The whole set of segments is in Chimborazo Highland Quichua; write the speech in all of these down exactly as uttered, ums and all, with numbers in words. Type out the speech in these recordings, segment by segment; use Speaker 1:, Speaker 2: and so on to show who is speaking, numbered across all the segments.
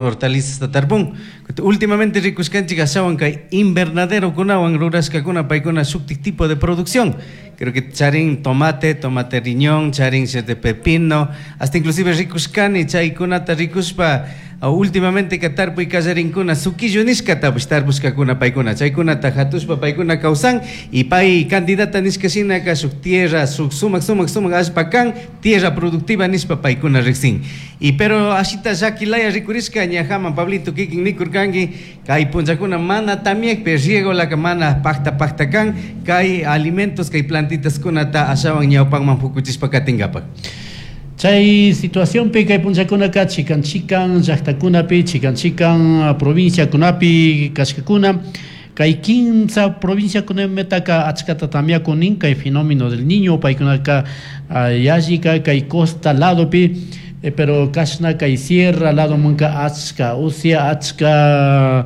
Speaker 1: Hortalizas tarpun. Últimamente rikushkanchik ashawan kay invernaderokunawan rurashkakuna paykuna shuktik tipo de producción. Creo que charin tomate, tomate riñón, charin de pepino, hasta inclusive rikushkani chaykunata rikushpa últimamente ka tarpuy kallarinkuna suquillo nishkatapish tarpushkakuna paykuna chaykunata hatushpa paykuna kawsan y pay candidata nishka shinaka shuk tierra shuk sumak sumak sumak allpa kan tierra productiva nishpa paykuna riksin y pero ashita llakilaya rikurishka ñajaman Pablito kikin nikurkanki kay punllakuna mana tamiakpi riegolaka mana pakta pakta kan kay alimentos kay plantitaskunata ashawan ñawpanman pukuchishpa katinkapak.
Speaker 2: Chay situacionpi kay punllakunaka chikan chikan llaqtakunapi chikan chikan provinciakunapi kashkakuna kay kimsa provinciakunamitaka achkata tamiakunin kay fenómeno del niño paykunaka yallika kay costa ladopi eh, pero kashna kay sierra ladomanka achka usya achka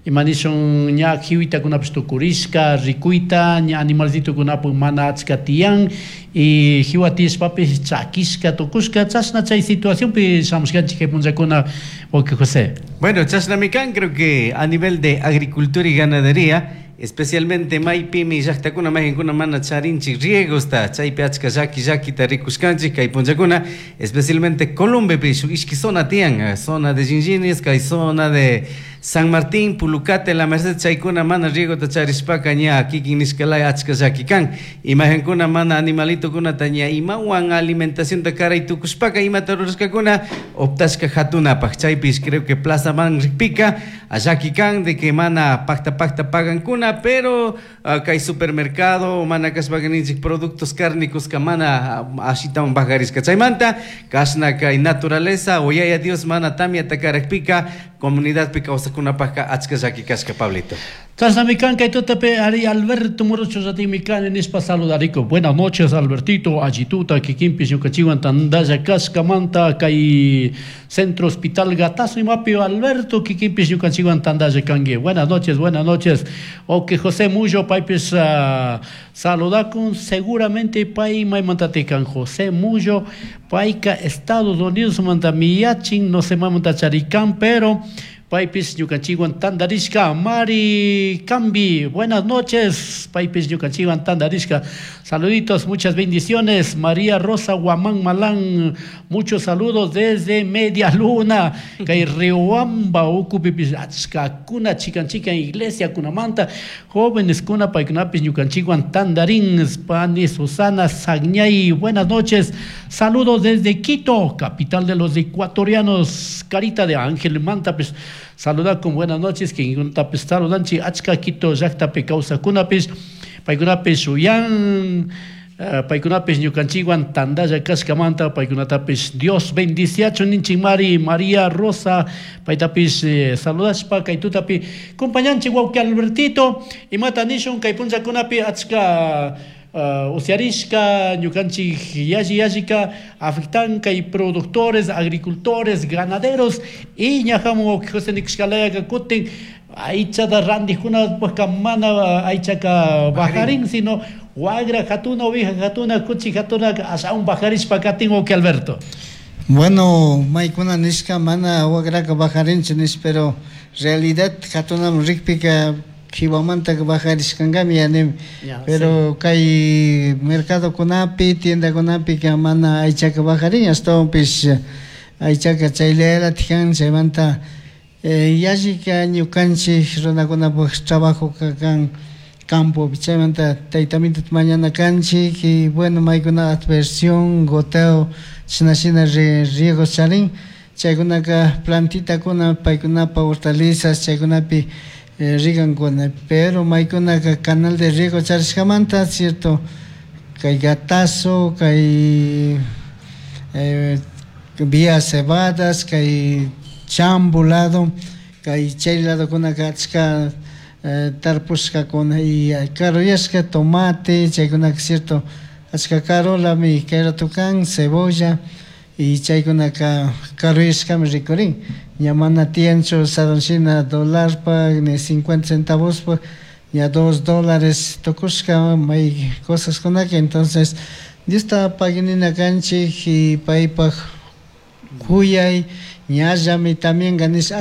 Speaker 2: imanishun ña jiwitakunapish tukurishka rikuyta ña animalcitokunapak mana achka tiyan y jiwa tiyashpapish chakishka tukushka chashna chay situacionpi shamushkanchik kay punllakuna wawqi José.
Speaker 1: Bueno, chashnami kan creo que a nivel de agricultura y ganadería especialmente maypimi llaqtakuna mayqinkuna mana charinchik riegosta chaypi achka llaki llakita rikushkanchik kay punllakuna especialmente Colombepi shuk ishki zona tiyan zona de Jinjinis kay zona de San Martín, Pulucate, La Merced chaykuna mana riegota charishpaka ña kikin nishkalaya achka llaki kan imajinkuna mana animalitokunata ña imawan alimentacionta karay tukushpaka imata rurashkakuna optashka hatunapaq chaypish creo que plaza man rikpika llaki kan de que mana pakta pakta pagankuna pero uh, kay supermercado mana kashpaka ninchik productos cárnicos ka mana ashitawan bajarishka chaymanta kashna kay naturaleza o yaya Dios mana tamyata karakpika comunidadpi kawsakunapaqka achka llaki kashka Pablito.
Speaker 2: Chashnami kan kay tutapi ari Alberto Morocho ratimi kani nishpa saludariko. Buenas noches Albertito, allituta kikinpish ñukanchikwan tantalla kashkamanta kay Centro Hospital Gatazo imapi Alberto kikinpish ñukanchikwan tantalla kanki. Buenas noches, buenas noches. Ok, José Mullo paypish uh, saludakun seguramente pay maymantati kan José Mullo payka Estados Unidos manta miyachin no sé maymanta charikan pero paypis ñukanchikwan tantarishka Mari Cambi, buenas noches, paypis ñukanchikwan tantarishka, saluditos, muchas bendiciones, María Rosa Guamán Malán, muchos saludos desde Media Luna, kay Riobamba ukupipis achkakuna chikan chikan iglesia kunamanta, jóvenes kuna paykunapis ñukanchikwan tantarin, Pani Susana Sagñay, buenas noches, saludos desde Quito, capital de los ecuatorianos, carita de Ángel Manta, pues, saluda con buenas noches, que tapis saludanchi achka Quito llaqtapi kawsakunapis paykunapis uyan uh, paykunapis ñukanchikwan tantalla kashkamanta paykunatapis Dios bendiciachun ninchik Mari María Rosa paytapis eh, saludashpa kay tutapi compañanchik wawqi Albertito imata nishun kay punllakunapi achka Uh, usyarishka ñukanchik yalli yallika afectan kay productores, agricultores, ganaderos y ñajamun José nikushkalayaka kutin aychata rantikunapaka mana aychaka bajarin sino wagra hatuna, oveja hatuna, kuchi hatuna ashawan bajarishpa katin wawqi Alberto.
Speaker 3: Bueno, maykuna nishka mana wagraka bajarinchu nish pero realidad hatunaman rikpika jiwamantaka bajarishkankami yani pero sí. Kay mercadokunapi tiendakunapika mana aychaka bajarin ashtawanpish aychaka chayllatik kan chaymanta eh, yallika ñukanchik runakunapuk trabajoka kan campopi chaymanta taytamitata mañana kanchik y bueno maykuna adversión goteo chashna shina riego charin chaykunaka plantitakuna paykunapa hortalizas chaykunapi Eh, rigankuna pero maykunaka canal de riego charishkamanta cierto kay Gatazo kay eh, vía Cebadas kay Chambo lado kay chay ladokunaka achka eh, tarpushkakuna y karuyashka tomate chaykunaka cierto achka karolami kay rato kan cebolla y chaykunaka karuyashkami rikurin ña mana tiyanchu sarunshina dólarpak ni cincuenta centavospak ña dos dólares tukushka may cosaskunaka entonces Diosta paginina kanchik y paypak kuyay Ñallami también nish.